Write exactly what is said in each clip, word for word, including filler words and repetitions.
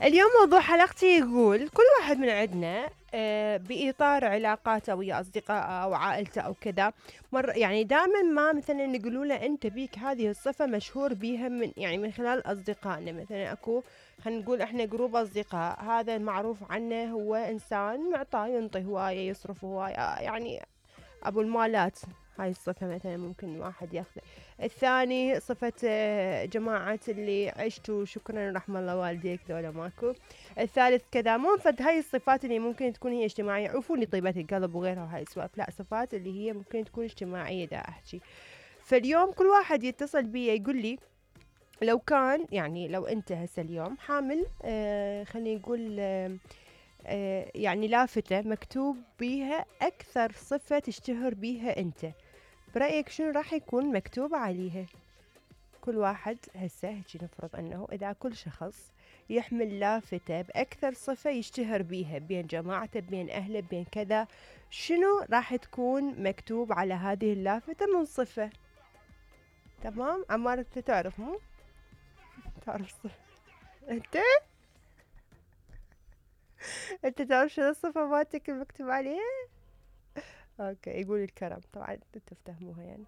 اليوم موضوع حلقتي يقول كل واحد من عندنا آه، بإطار علاقاته ويا أصدقائه أو عائلته أو كذا مر يعني دائما ما مثلا يقولوا له أنت بيك هذه الصفة مشهور بيها من يعني من خلال أصدقائنا. مثلا أكو خلينا نقول إحنا جروب أصدقاء، هذا معروف عنه هو إنسان معطاء، ينطي هواية، يصرف هواية، آه، يعني أبو المالات. هاي الصفة مثلا ممكن واحد ياخذ. الثاني صفة آه، جماعة اللي عشتوا شكرا رحم الله والديك ذولا ماكو. الثالث كذا، مو فد هاي الصفات اللي ممكن تكون هي اجتماعية، عفوني طيبة القلب وغيرها وهاي السوالف، لا صفات اللي هي ممكن تكون اجتماعية دا أحكي. فاليوم كل واحد يتصل بي يقول لي لو كان يعني لو أنت هسه اليوم حامل آه خلينا نقول آه آه يعني لافتة مكتوب بيها أكثر صفة تشتهر بيها أنت، برأيك شنو راح يكون مكتوب عليها؟ كل واحد هسه هيجي نفرض أنه إذا كل شخص يحمل لافتة بأكثر صفة يشتهر بيها بين جماعته بين أهله بين كذا، شنو راح تكون مكتوب على هذه اللافتة من صفة؟ تمام عمار أنت تعرف مو؟ تعرف صفة أنت؟ أنت تعرف شنو الصفة مالتك المكتوب عليها؟ أوكي يقول الكرم، طبعا تفتهموها يعني.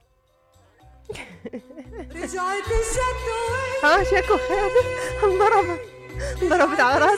رجعت الشتوي ها شكو خير انضربت انضربت على راسي.